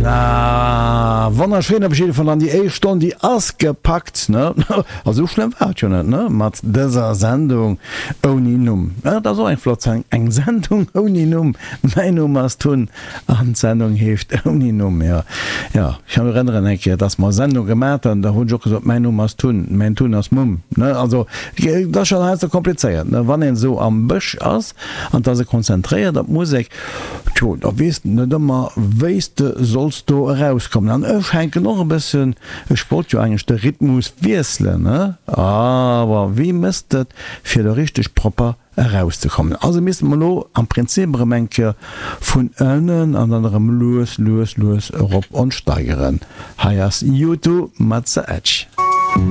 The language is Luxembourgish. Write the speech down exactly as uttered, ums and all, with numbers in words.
Na, wonnerschéin op jidde Fall an déi éischt Stonn déi ass gepackt, ne? Also sou schlëmm war et jo net, ne? Mat dëser Sendung ouni Numm. Dat ass och eng flott Sendung, eng Sendung ouni Numm. Mäin Numm ass Tun an d'Sendung heescht ouni Numm. Jo, jo, ech kann mech erënneren eng Kéier, dass mer Sendung gemat hunn, da hunn ech och gesot, mäin Numm ass Tun, mäin Tun ass Mumm, ne? Also, dat ass schonn heiansdo komplizéiert, ne? Wann een esou am Bësch ass an 't ass e konzentréiert op d'Musek, Tjo, da weess de net ëmmer, wéi s de solls do erauskommen. An ech hänken och e bëssen, ech wollt jo eigentlech de Rhythmus wiesselen, ne? Awer wéi mëss de et, fir do richteg propper erauszekommen? Also misste mer elo am Prinzip erëm eng Kéier vun ënnen an dann erëm lues, lues, lues erop ons steigeren. Hei ass U two mat The Edge.